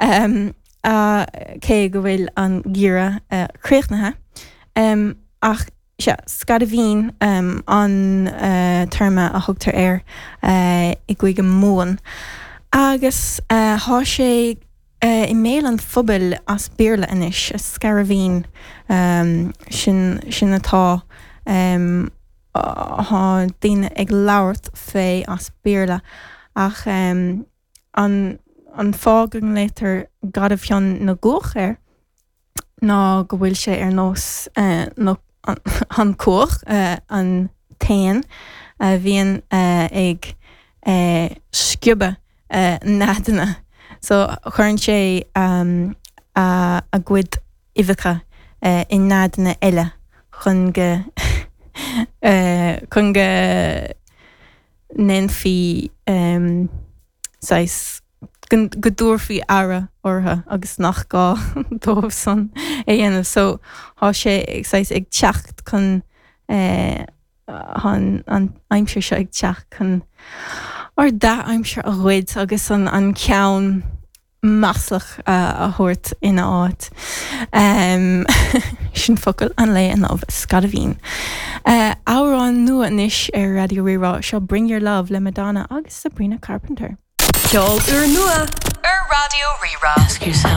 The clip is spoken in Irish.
Cé go bhfuil an geimhreadh críochnaithe. Ach sea, scairbhín an téarma a thugtar air i gCúige Mumhan. Agus thá sé i mbéal an phobail as Béarla anois, scairbhín, sin, sin atá, thá daoine ag labhairt fé as Béarla ach an, an fáth go nglaotar garbhfhionn na gcuach air ná go bhfuil sé ar nós na, an cuach, an t-éan a bhíonn ag sciobadh neadanna. So cuireann sé a gcuid uibheacha i neadanna eile chun go chun go ndéanfaí saghas go dtabharfaí aire orthu agus nach gá dóibh san é dhéanamh. So thá sé saghas ag teacht chun Thá an aimsir seo ag teacht chun ár dea-aimsir a ghoid agus an ceann maslach a thabhairt ina áit. Sin focal an lae inniu, scairbhín. Amhrán nua anois ar Raidió Rí-Rá, seo Bring Your Love le Madonna agus Sabrina Carpenter. Ceol úrnua ar Raidió Rí-Rá.